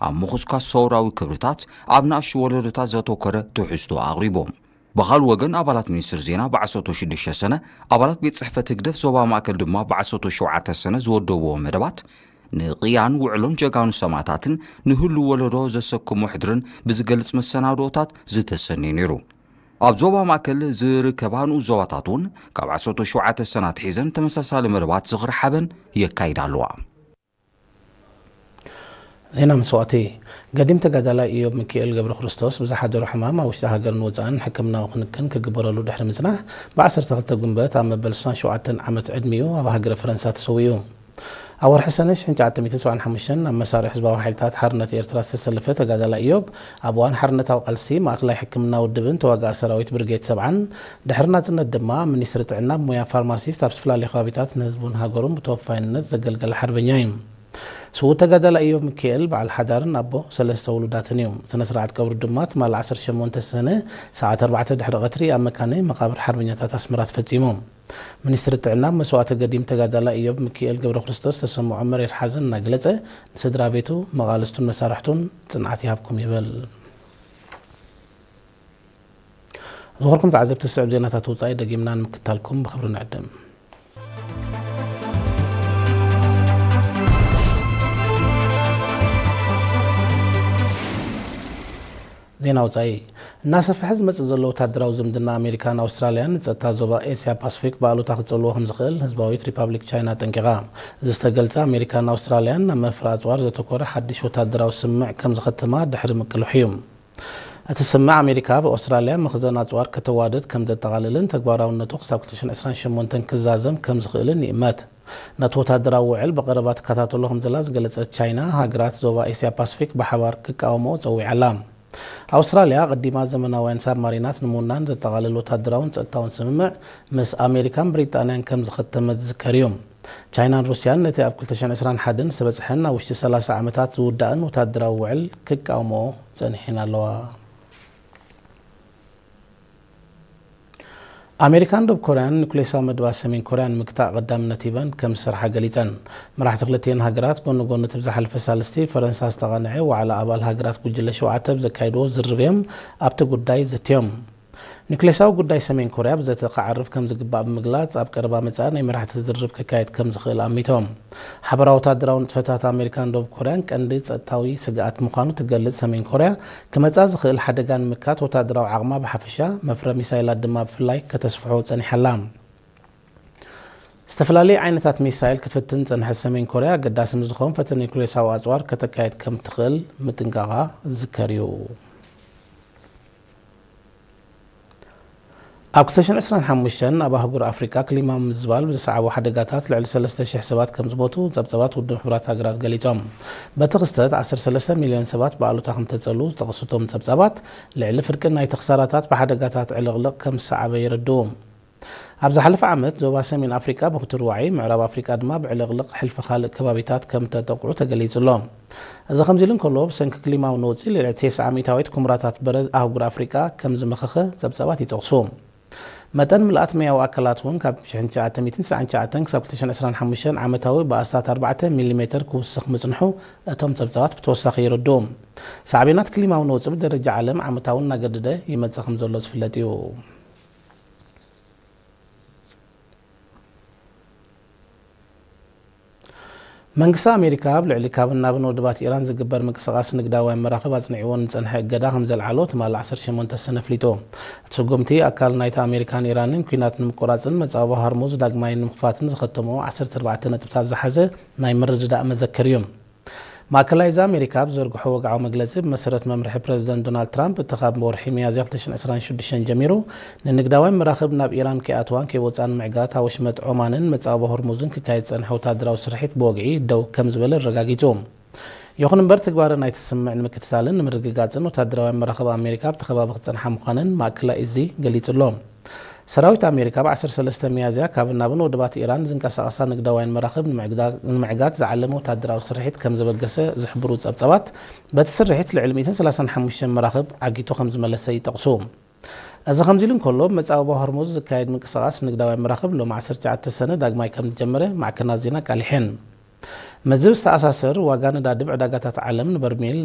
ኣብ ምኹስኳስ ሰውራዊ ክብርታት ኣብ ንኣሽቱ ወለዶታት ዘተኮረ ትሕዝቶ ኣቕሪቦም። ብኻልእ ወገን፣ ኣባላት ሚኒስትር ዜና ብዓሰርተ ሽዱሽተ ሰነ፣ ኣባላት ቤት ጽሕፈት ህግደፍ ዞባ ማእከል ድማ ብዓሰርተ ሸውዓተ ሰነ ዝወደብዎ መደባት፣ ንቕያን ውዕሎን ጀጋኑ ሰማእታትን ንህሉ ወለዶ ዘሰክሞ ሕድርን ብዝገልጽ መሰናድኦታት ዝተሰነየ ነይሩ። ኣብ ዞባ ማእከል ዝርከባ ንኡስ ዞባታት እውን ካብ ዓሰርተ ሸውዓተ ሰነ ኣትሒዘን ተመሳሳሊ መደባት ዝኽሪ ሓበን የካይዳ ኣለዋ። ዜና መስዋእቲ። ገዲም ተጋዳላይ ኢዮብ ሚካኤል ገብረ ክርስቶስ ብዝሓደሮ ሕማም ኣብ ውሽጢ ሃገርን ወጻእን ሕክምናዊ ክንክን ክግበረሉ ድሕሪ ምጽናሕ፣ ብ ዓሰርተ ክልተ ጉንበት ኣብ መበል ስሳን ሸውዓተን ዓመት ዕድሚኡ ኣብ ሃገረ ፈረንሳ ተሰዊኡ። ኣብ ወርሒ ሰነ ሽሕን ትሽዓተ ሚእትን ሰብዓን ሓሙሽተን ኣብ መሳርሒ ህዝባዊ ሓይልታት ሓርነት ኤርትራ ዝተሰለፈ ተጋዳላይ ኢዮብ፣ ኣብ እዋን ሓርነታዊ ቃልሲ ማእከላይ ሕክምና ውድብን ተዋጋኢ ሰራዊት ብርጌድ ሰብዓን፣ ድሕሪ ናጽነት ድማ ሚኒስትሪ ጥዕና ብሞያ ፋርማሲስት ኣብ ዝተፈላለዩ ከባቢታት ንህዝቡን ሃገሩን ብተወፋይነት ዘገልገለ ሓርበኛ እዩ። ስዉእ ተጋዳላይ ኢዮብ ሚካኤል በዓል ሓዳርን ኣቦ ሰለስተ ውሉዳትን እዩ። ስነ ስርዓት ቀብሩ ድማ ትማሊ ዓሰርተ ሸሞንተ ሰነ ሰዓት ኣርባዕተ ድሕሪ ቀትሪ ኣብ መካነ መቓብር ሓርበኛታት ኣስመራ ተፈጺሙ። ሚኒስትሪ ጥዕና መስዋእቲ ገዲም ተጋዳላይ ኢዮብ ሚካኤል ገብረ ክርስቶስ ዝተሰምዖ መሪር ሓዘን እናገለጸ፣ ንስድራ ቤቱ፣ መቓልስቱን መሳርሕቱን ጽንዓት ይሃብኩም ይብል። ዝኸበርኩም ተዓዘብቲ፣ ዝስዕብ ዜናታት ወጻኢ ደጊምና ንምክታልኩም ብኽብሪ ንዕድም። ዜና ወጻኢ። እናሰፍሐ ዝመጽእ ዘሎ ወታደራዊ ዝምድና ኣሜሪካን ኣውስትራልያን ንጸጥታ ዞባ ኤስያ ፓስፊክ ብኣሉታ ክጸልዎ ከም ዝኽእል ህዝባዊት ሪፓብሊክ ቻይና ኣጠንቂቓ። እዚ ዝተገልጸ፣ ኣሜሪካን ኣውስትራልያን ናብ መፍረ ኣጽዋር ዘተኮረ ሓድሽ ወታደራዊ ስምምዕ ከም ዝኸተማ ድሕሪ ምቅልሑ እዩ። እቲ ስምምዕ፣ ኣሜሪካ ኣብ ኣውስትራልያ መኽዘን ኣጽዋር ከተዋድድ ከም ዘጠቓልልን ተግባራውነቱ ክሳብ ክልተ ሽሕን ዕስራን ሸሞንተን ክዛዘም ከም ዝኽእልን ይእመት። ነቲ ወታደራዊ ውዕል ብቐረባ ትከታተሎ ከም ዘላ ዝገለጸት ቻይና፣ ሃገራት ዞባ ኤስያ ፓስፊክ ብሓባር ክቃወምኦ ጸዊዓ ኣላ። ኣውስትራልያ ኣቐዲማ ዘመናውያን ሳብማሪናት ንምውናን ዘጠቓልል ወታደራውን ጸጥታውን ስምምዕ ምስ ኣሜሪካን ብሪጣንያን ከም ዝኸተመት ዝዝከር እዩ። ቻይናን ሩስያን ነቲ ኣብ ክልተ ሽሕን ዕስራን ሓደን ዝተበጽሐን ኣብ ውሽጢ ሰላሳ ዓመታት ዝውዳእን ወታደራዊ ውዕል ክቃወምኦ ጸኒሐን ኣለዋ። ኣሜሪካን ደቡብ ኮርያን ኒኩሌሳዊ መደባት ሰሜን ኮርያ ንምግታእ ቀዳምነት ሂበን ከም ዝሰርሓ ገሊጸን። መራሕቲ ክልቲኤን ሃገራት ጎኒ ጎኒ እቲ ብዝሓለፈ ሳልስቲ ፈረንሳ ዝተቓንዐ ዋዕላ ኣባል ሃገራት ጉጅለ ሸውዓተ ብዘካየድዎ ዝርርብ እዮም ኣብቲ ጉዳይ ዘትዮም። ኒኩሌሳዊ ጉዳይ ሰሜን ኮርያ ብዘተ ክዓርፍ ከም ዝግባእ ብምግላጽ፣ ኣብ ቀረባ መጻኢ ናይ መራሕቲ ዝርርብ ክካየድ ከም ዝኽእል ኣሚቶም። ሓበራዊ ወታደራዊ ንጥፈታት ኣሜሪካን ደቡብ ኮርያን ቀንዲ ጸጥታዊ ስግኣት ምዃኑ ትገልጽ ሰሜን ኮርያ፣ ክመጻ ዝኽእል ሓደጋ ንምምካት ወታደራዊ ዓቕማ ብሓፈሻ፣ መፍረ ሚሳይላት ድማ ብፍላይ ከተስፍሖ ጸኒሓ ኣላ። ዝተፈላለዩ ዓይነታት ሚሳይል ክትፍትን ዝጸንሐት ሰሜን ኮርያ፣ ኣገዳሲ ምስ ዝኾን ፈተነ ኒኩሌሳዊ ኣጽዋር ከተካየድ ከም ትኽእል ምጥንቃቓ ዝዝከር እዩ። ኣብ ክልተ ሽሕን ዕስራን ሓሙሽተን ኣብ ኣህጉር ኣፍሪቃ ክሊማ ምምዝባል ብዘስዓቦ ሓደጋታት ልዕሊ ሰለስተ ሽሕ ሰባት ከም ዝሞቱ ጸብጸባት ውድብ ሕቡራት ሃገራት ገሊጾም። በቲ ክስተት ዓሰርተ ሰለስተ ሚልዮን ሰባት ብኣሉታ ከም ተጸልዉ ዝጠቐሱ እቶም ጸብጸባት፣ ልዕሊ ፍርቂ ናይቲ ክሳራታት ብሓደጋታት ዕልቕልቕ ከም ዝሰዓበ የረድኡ። ኣብ ዝሓለፈ ዓመት ዞባ ሰሜን ኣፍሪቃ ብክቱር ዋዒ፣ ምዕራብ ኣፍሪቃ ድማ ብዕልቕልቕ ሕልፊ ካልእ ከባቢታት ከም ተጠቕዑ ተገሊጹ ኣሎ። እዚ ከምዚ ኢሉ እንከሎ፣ ብሰንኪ ክሊማዊ ነውጺ ልዕሊ ተስዓ ሚእታዊት ኩምራታት በረድ ኣህጉር ኣፍሪቃ ከም ዝመኸኸ ጸብጻባት ይጠቕሱ። መጠን ምልኣት መያዊ ኣካላት እውን ካብ ሽሕን ትሽዓተ ሚእትን ትስዓን ትሽዓተን ክሳብ ክልተ ሽሕን ዕስራን ሓሙሽተን ዓመታዊ ብኣስታት ኣርባዕተ ሚሊሜተር ክውስኽ ምጽንሑ እቶም ጸብጻባት ብተወሳኺ የረድኡ። ሳዕቤናት ክሊማዊ ነውጺ ብደረጃ ዓለም ዓመታዊ እናገደደ ይመጽእ ከም ዘሎ ዝፍለጥ እዩ። መንግስቲ ኣሜሪካ ኣብ ልዕሊ ካብን ናብን ወደባት ኢራን ዝግበር ምንቅስቓስ ንግዳውያን መራኽብ ኣጽኒዕዎ ንጸንሐ እገዳ ከም ዘልዓሎ ትማሊ ዓሰርተ ሸሞንተ ሰነ ኣፍሊጡ። እቲ ስጉምቲ ኣካል ናይቲ ኣሜሪካን ኢራንን ኲናት ንምቁራጽን መጻወ ሃርሙዝ ዳግማይ ንምኽፋትን ዝኸተምኦ ዓሰርተ ኣርባዕተ ነጥብታት ዝሓዘ ናይ ምርድዳእ መዘክር እዩ። ማእከላይ እዚ ኣሜሪካ ኣብ ዝዘርግሖ ወግዓዊ መግለጺ፣ ብመሰረት መምርሒ ፕረዚደንት ዶናልድ ትራምፕ፣ እቲ ካብ ወርሒ ሚያዝያ ክልተ ሽሕን ዕስራን ሽዱሽተን ጀሚሩ ንንግዳውያን መራኽብ ናብ ኢራን ከይኣትዋን ከይወጻን ምዕጋት፣ ኣብ ወሽመጥ ዖማንን መጻወ ሆርሙዝን ክካየድ ዝጸንሐ ወታደራዊ ስርሒት ብወግዒ ደው ከም ዝበለ ኣረጋጊጹ። ይኹን እምበር፣ ትግባረ ናይቲ ስምምዕ ንምክትታልን ንምርግጋጽን ወታደራውያን መራኽብ ኣሜሪካ ኣብቲ ከባቢ ክጸንሓ ምዃነን ማእከላይ እዚ ገሊጹ ኣሎ። ሰራዊት ኣሜሪካ ብ ዓሰርተ ሰለስተ ሚያዝያ ካብን ናብን ወደባት ኢራን ዝንቀሳቐሳ ንግዳውያን መራኽብ ንምዕግዳ-፣ ንምዕጋት ዝዓለመ ወታደራዊ ስርሒት ከም ዘበገሰ ዝሕብሩ ጸብጻባት፣ በቲ ስርሒት ልዕሊ ሚእትን ሰላሳን ሓሙሽተን መራኽብ ዓጊቱ ከም ዝመለሰ ይጠቕሱ። እዚ ከምዚ ኢሉ እንከሎ፣ ብመጻብቦ ሆርሙዝ ዝካየድ ምንቅስቓስ ንግዳውያን መራኽብ ሎሚ ዓሰርተ ትሽዓተ ሰነ ዳግማይ ከም ዝጀመረ ማዕከናት ዜና ኣቃሊሐን። ምስዚ ብዝተኣሳሰር፣ ዋጋ ነዳዲ ብዕዳጋታት ዓለም ንበርሜል